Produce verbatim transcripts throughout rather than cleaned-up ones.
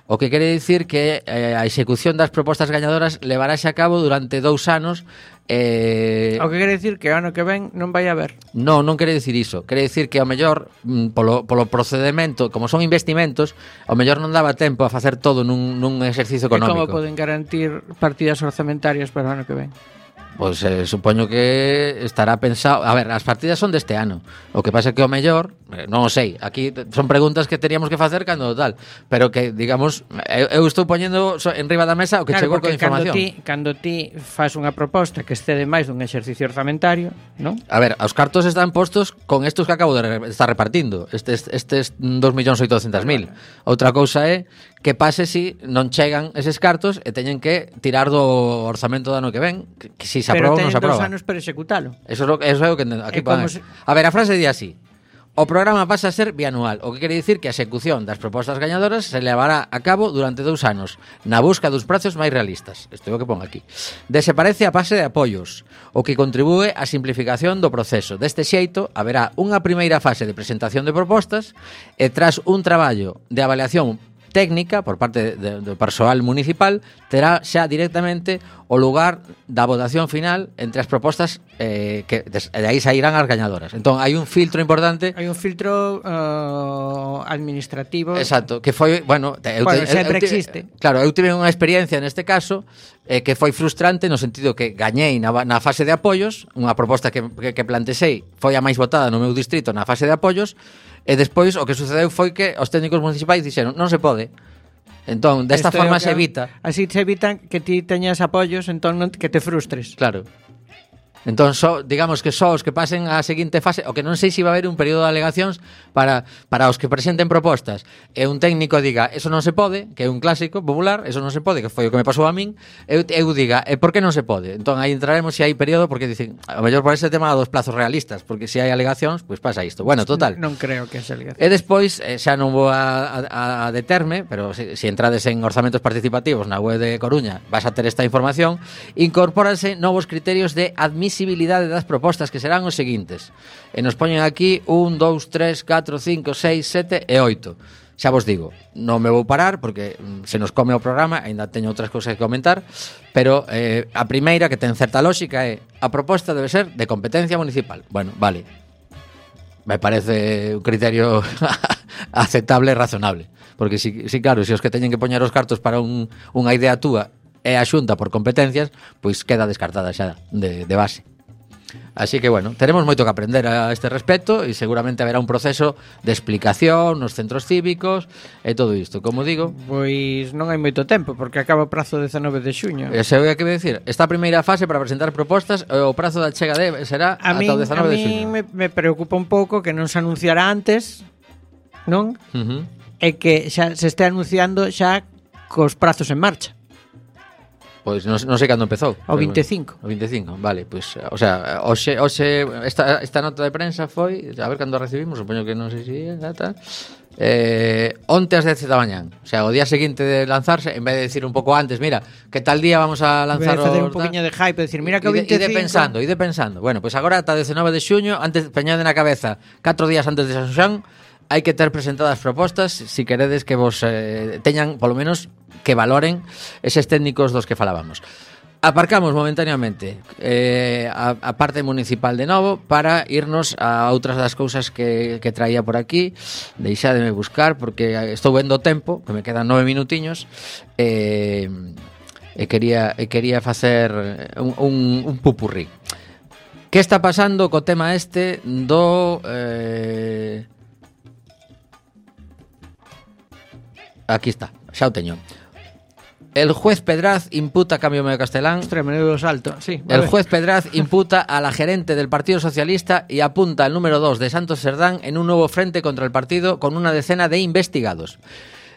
O que quere dicir que eh, a execución das propostas gañadoras levarase a cabo durante dous anos. Eh... O que quere dicir que o ano que ven non vai haber. Non, non quere dicir iso. Quere dicir que ao mellor mm, polo, polo procedimento, como son investimentos, ao mellor non daba tempo a facer todo nun, nun exercicio económico. E como poden garantir partidas orzamentarias para o ano que ven? Pois eh, supoño que estará pensado. A ver, as partidas son deste ano. O que pasa é que ao mellor, eh, non o sei. Aquí son preguntas que teríamos que facer cando tal, pero que digamos, eu, eu estou poñendo en riba da mesa o que claro, chegou con información. Cando ti, cando ti fas unha proposta que excede máis dun exercicio orzamentario, non? A ver, os cartos están postos con estos que acabo de re- estar repartindo. Estes estes dos millóns oitocentos mil. Outra cousa é que pase si non chegan eses cartos e teñen que tirar do orzamento do ano que ven, que, que si se aproba ou non se aproba. Pero teñen dos anos para executalo. Eso é lo, eso é o que aquí pone. Se... A ver, a frase di así: o programa pasa a ser bianual, o que quere dicir que a execución das propostas gañadoras se levará a cabo durante dous anos, na busca dos prazos máis realistas. Isto é o que pon aquí. Desaparece a fase de apoios, o que contribúe á simplificación do proceso. Deste xeito, haberá unha primeira fase de presentación de propostas e tras un traballo de avaliación técnica por parte de, do persoal municipal, terá xa directamente o lugar da votación final entre as propostas eh, que de, de aí sairán as gañadoras. Entón, hai un filtro importante. Hai un filtro uh, administrativo. Exacto, que foi, bueno, eu, bueno te, sempre eu, eu, existe. Claro, eu tive unha experiencia neste caso eh, que foi frustrante no sentido que gañei na, na fase de apoios, unha proposta que, que, que plantexei foi a máis votada no meu distrito na fase de apoios. E despois o que sucedeu foi que os técnicos municipais dixeron non se pode. Entón, desta Esto forma que, se evita. Así se evitan que ti teñas apoios, entón non, que te frustres. Claro. Entón, so, digamos que só os que pasen á seguinte fase, o que non sei se va a haber un período de alegacións para, para os que presenten propostas e un técnico diga, eso non se pode, que é un clásico popular, eso non se pode, que foi o que me pasou a min, eu, eu diga, e por que non se pode? Entón, aí entraremos se hai período, porque dicen, a mellor por ese tema dos plazos realistas, porque se hai alegacións, pois pues pasa isto. Bueno, total. Non, non creo que se alegacións. E despois, eh, xa non vou a, a, a determe, pero se, se entrades en orzamentos participativos na web de Coruña, vas a ter esta información, incorpóranse novos criterios de admisibilidade das propostas que serán os seguintes. E nos poñen aquí un, dous, tres, catro, cinco, seis, sete e oito. Xa vos digo, non me vou parar porque se nos come o programa, aínda teño outras cousas que comentar, pero eh, a primeira que ten certa lógica é a proposta debe ser de competencia municipal. Bueno, vale. Me parece un criterio aceptable e razonable, porque si, si claro, se os que teñen que poñer os cartos para un, unha idea túa é a Xunta por competencias, pois queda descartada xa de, de base. Así que, bueno, teremos moito que aprender a este respecto e seguramente haberá un proceso de explicación nos centros cívicos e todo isto. Como digo... Pois non hai moito tempo, porque acaba o prazo dezanove de xuño. E se vai a que decir, esta primeira fase para presentar propostas, o prazo da chega de será a ata o dezanove de xuño. A mí me, me preocupa un pouco que non se anunciará antes, non? Uh-huh. E que xa se este anunciando xa cos prazos en marcha. Pois non, non sei cando empezou. O vinte e cinco. O vinte e cinco, vale, pois, o sea, hoxe, hoxe esta, esta nota de prensa foi, a ver cando a recibimos, supoño que non sei se é data, eh, onte ás dez da mañán. O sea, o día seguinte de lanzarse, en vez de decir un pouco antes, mira, que tal día vamos a lanzar o... facer un poquinho de hype, decir, mira que o vinte e cinco... Ide pensando, ide pensando. Bueno, pois agora ata dezanove de xuño, antes, peñade na cabeza, catro días antes de San Xoán, hai que ter presentadas propostas, si queredes que vos eh, teñan, polo menos, que valoren eses técnicos dos que falábamos. Aparcamos momentáneamente eh, a, a parte municipal de novo para irnos a outras das cousas que, que traía por aquí. Deixádeme buscar porque estou vendo o tempo, que me quedan nove minutiños, e, e quería e quería facer un, un, un pupurrí. Que está pasando co tema este do... Eh, aquí está, xa o teño. El juez Pedraz imputa a Cambio Medio Castelán. Ostras, menudo salto. Sí, el juez Pedraz imputa a la gerente del Partido Socialista y apunta al número dos de Santos Serdán en un nuevo frente contra el partido con una decena de investigados.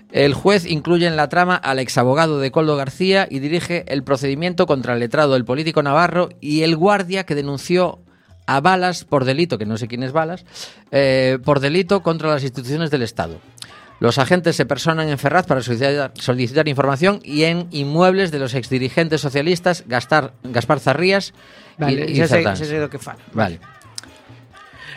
El juez incluye en la trama al exabogado de Coldo García y dirige el procedimiento contra el letrado del político navarro y el guardia que denunció a Balas por delito, que no sé quién es Balas, eh, por delito contra las instituciones del Estado. Los agentes se personan en Ferraz para solicitar, solicitar información y en inmuebles de los exdirigentes socialistas Gaspar, Gaspar Zarrías vale, y, y Cerdán. Cerdán. Sé, sé do que fala. Vale.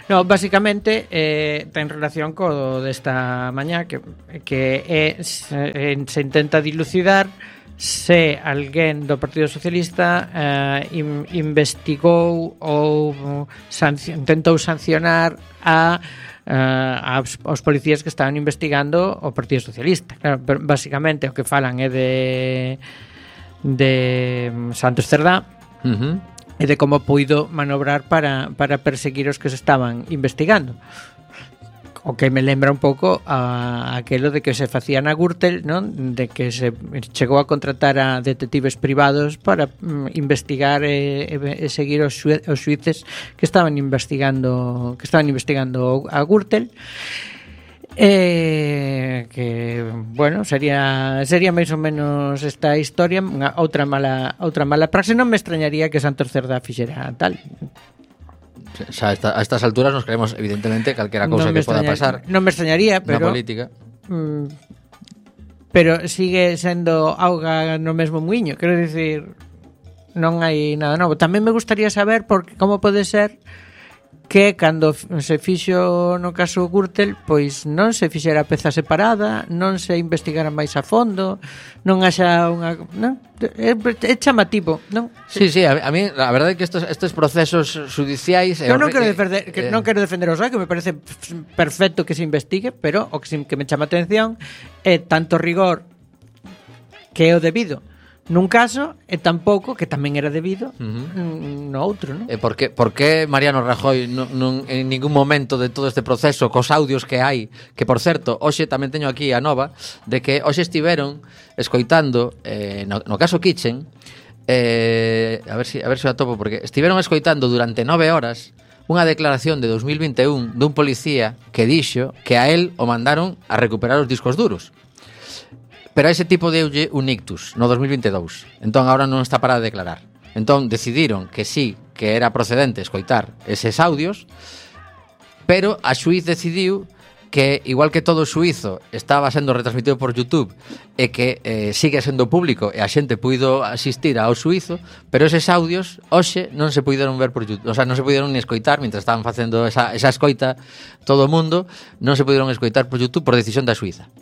No, básicamente eh, ten relación co desta mañá que, que é, se, se intenta dilucidar se alguén do Partido Socialista eh, in, investigou ou sanci- intentou sancionar a Uh, aos, aos policías que estaban investigando o Partido Socialista. Claro, pero basicamente o que falan é de de Santos Cerdá Uh-huh. e de como puido manobrar para, para perseguir os que se estaban investigando. O que me lembra un pouco a aquelo de que se facía na Gürtel, non? De que se chegou a contratar a detectives privados para mm, investigar e, e, e seguir os, xue, os xuíces que estaban investigando que estaban investigando a Gürtel. Eh, que bueno, sería sería máis ou menos esta historia, unha outra mala outra mala praxe. Non me extrañaría que Santos Cerdá fixera tal. O sea, a, esta, a estas alturas nos creemos evidentemente calquera cousa no que poda pasar. Non me extrañaría, pero na política. Mm, pero sigue sendo auga no mesmo muiño, quero dicir, non hai nada novo. Tamén me gustaría saber por como pode ser que cando se fixo no caso Gürtel, pois non se fixera peza separada, non se investigara máis a fondo, non haxa unha, non? É, é chamativo, non? Sí, sí, a, a mí a verdade é que estos estes procesos judiciais Eu non quero defender eh, que non quero defender o S O E, que me parece perfecto que se investigue, pero o que, que me chama a atención é tanto rigor que é o debido nun caso e tampouco que tamén era debido uh-huh. no outro, non? E por que, por que Mariano Rajoy non, non, en ningún momento de todo este proceso cos audios que hai, que por certo, hoxe tamén teño aquí a nova de que hoxe estiveron escoitando eh, no, no caso Kitchen eh, a ver si a ver se si o atopo, porque estiveron escoitando durante nove horas unha declaración de dos mil vinte e un dun policía que dixo que a él o mandaron a recuperar os discos duros. Pero a ese tipo deulle un ictus no dos mil vinte e dous. Entón agora non está para declarar. Entón decidiron que sí, que era procedente escoitar eses audios, pero a xuiz decidiu que, igual que todo o xuízo estaba sendo retransmitido por YouTube e que eh, sigue sendo público e a xente puido asistir ao xuízo, pero eses audios hoxe non se puideron ver por YouTube, o sea, non se puideron ni escoitar mientras estaban facendo esa, esa escoita todo o mundo, non se puderon escoitar por YouTube por decisión da xuíza.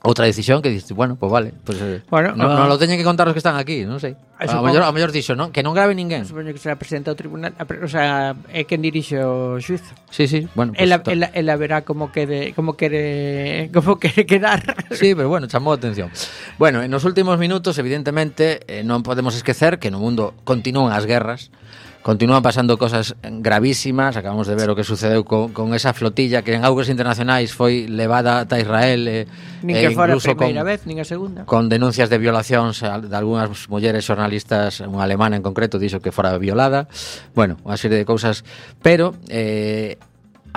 Outra decisión que dices, bueno, pues vale, pues eh, bueno, non uh, no lo teñen que contar os que están aquí, non sei. A mellor a mellor dixo, non, que non grave ninguén. Supoño que será presidente do tribunal, o sea, é quen dirixe o xuízo. Sí, sí, bueno, pues, ela, ela, ela verá como quere, como quere, como quere quedar. Sí, pero bueno, chamou a atención. Bueno, en os últimos minutos, evidentemente, eh, non podemos esquecer que no mundo continúan as guerras. Continúan pasando cosas gravísimas. Acabamos de ver o que sucedeu con, con esa flotilla que en augas internacionais foi levada ata Israel e, nin e que fora a con, primeira vez, nin a segunda, con denuncias de violacións de algunhas mulleres xornalistas, unha alemana en concreto dixo que fora violada. Bueno, unha serie de cousas. Pero eh,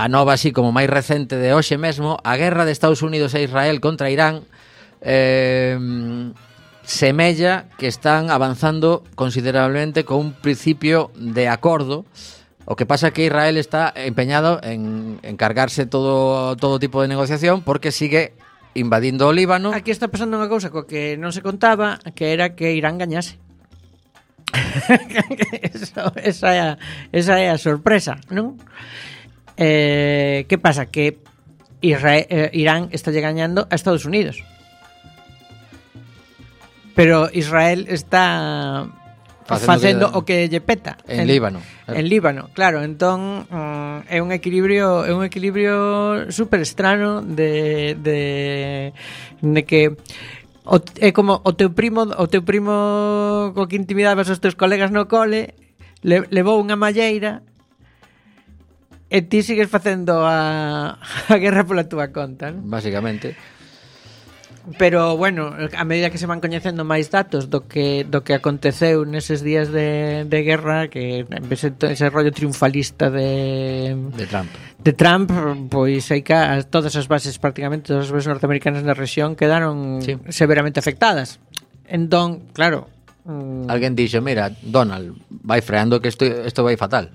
a nova así como máis recente de hoxe mesmo, a guerra de Estados Unidos e Israel contra Irán eh, semella que están avanzando considerablemente con un principio de acordo. O que pasa é que Israel está empeñado en, en cargarse todo, todo tipo de negociación porque sigue invadindo o Líbano. Aquí está pasando unha cousa co que non se contaba, que era que Irán gañase. Eso, esa, é a, esa é a sorpresa, non? Eh, que pasa? Que Israel, eh, Irán está gañando a Estados Unidos. Pero Israel está facendo, facendo que, o que lle peta en, en Líbano. En Líbano, claro, entón um, é un equilibrio, é un equilibrio super estrano de de de que o, é como o teu primo, o teu primo co que intimidabas os teus colegas no cole, le, levou unha malleira e ti sigues facendo a, a guerra pola túa conta, non? Básicamente. Pero, bueno, a medida que se van coñecendo máis datos do que do que aconteceu neses días de, de guerra, que ese, ese rollo triunfalista de de Trump, de Trump, pois hai que todas as bases, prácticamente todas as bases norteamericanas na rexión quedaron sí. severamente afectadas. Entón, claro, mm, alguén dixo, mira, Donald, vai freando que isto isto vai fatal.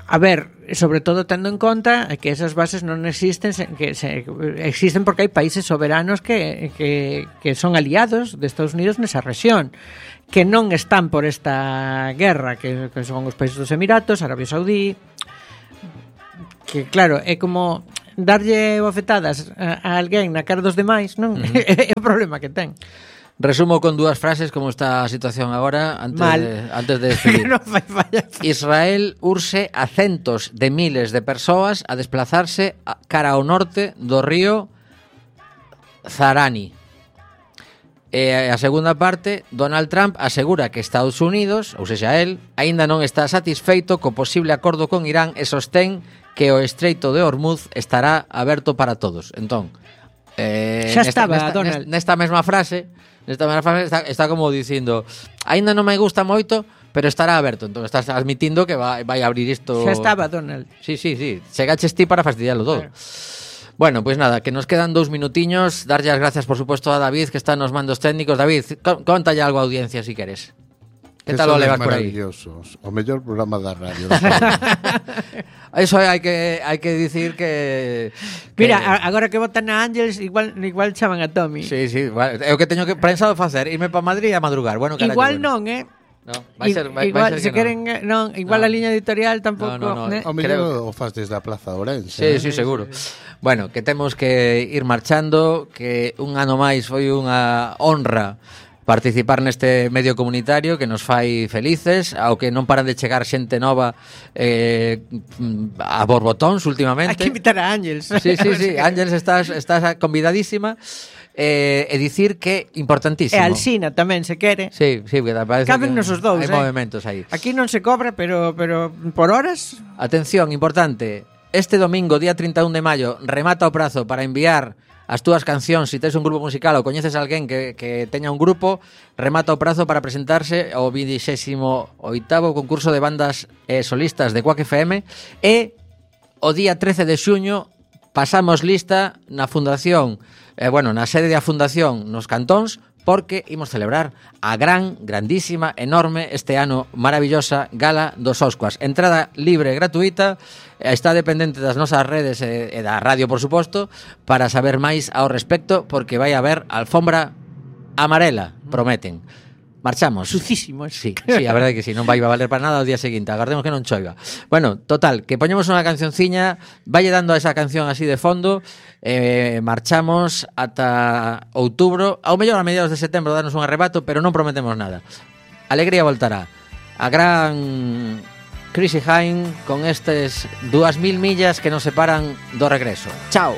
A ver, sobre todo tendo en conta que esas bases non existen, que se, existen porque hai países soberanos que, que, que son aliados de Estados Unidos nesa rexión, que non están por esta guerra, que, que son os países dos Emiratos, Arabia Saudí, que claro, é como darlle bofetadas a, a alguén na cara dos demais, non? Uh-huh. É o problema que ten. Resumo con dúas frases como está a situación agora antes Mal. de, antes de despedir. No fai falla. Israel urxe a centos de miles de persoas a desplazarse a, cara ao norte do río Zarani. E a segunda parte, Donald Trump asegura que Estados Unidos, ou sexa el, aínda non está satisfeito co posible acordo con Irán e sostén que o Estreito de Hormuz estará aberto para todos. Entón, eh, xa nesta, estaba, nesta, Donald. Nesta mesma frase, nesta mesma frase está, está como dicindo, aínda non me gusta moito, pero estará aberto. Entón estás admitindo que vai, vai abrir isto. Xa estaba, Donald. Sí, sí, sí. Chegaches ti para fastidiarlo todo. Claro. Bueno, pues nada, que nos quedan dous minutiños. Darlle as gracias, por supuesto, a David, que está nos mandos técnicos. David, contalle algo a audiencia, si queres. Que tal o levas por aí? Maravillosos. O mellor programa da radio. Eso hai que hai que dicir que, que... Mira, agora que votan a Ángels, igual igual chaman a Tommy. Sí, sí, vale. É o que teño que pensado facer, irme para Madrid a madrugar. Bueno, carallo, igual bueno. non, eh? No, vai ser, vai, igual, vai ser se que queren, non, igual no. a liña editorial tampouco, no, no, no. ¿eh? O mellor o faz desde a Plaza Ourense. Sí, eh? sí, seguro. Bueno, que temos que ir marchando, que un ano máis foi unha honra participar neste medio comunitario que nos fai felices, ao que non paran de chegar xente nova eh, a borbotóns últimamente. Hai que invitar a Ángels. Sí, sí, sí, Ángels, estás, estás convidadísima. Eh, e dicir que importantísimo. E Alsina tamén, se quere. Sí, sí, que parece Cábennos os dous, hai eh? movimentos aí. Aquí non se cobra, pero pero por horas. Atención, importante. Este domingo, día treinta e un de maio, remata o prazo para enviar as túas cancións. Se si tes un grupo musical ou coñeces a alguén que, que teña un grupo, remata o prazo para presentarse ao vintixésimo oitavo concurso de bandas eh, solistas de Quack F M. E o día trece de xuño pasamos lista na fundación, eh, bueno, na sede da fundación nos cantóns, porque imos celebrar a gran, grandísima, enorme, este ano maravillosa Gala dos Oscuas. Entrada libre e gratuita, está dependente das nosas redes e, e da radio, por suposto, para saber máis ao respecto, porque vai haber alfombra amarela, prometen. Marchamos. Sucísimos. Sí, sí, a verdade que sí, non vai a valer para nada o día seguinte. Agardemos que non choiva. Bueno, total, que poñemos unha cancionciña, valle dando a esa canción así de fondo, eh, marchamos ata outubro, ao mellor a mediados de setembro darnos un arrebato, pero non prometemos nada. Alegría voltará. A gran Chrissy Hine con estes dúas mil millas que nos separan do regreso. Chao.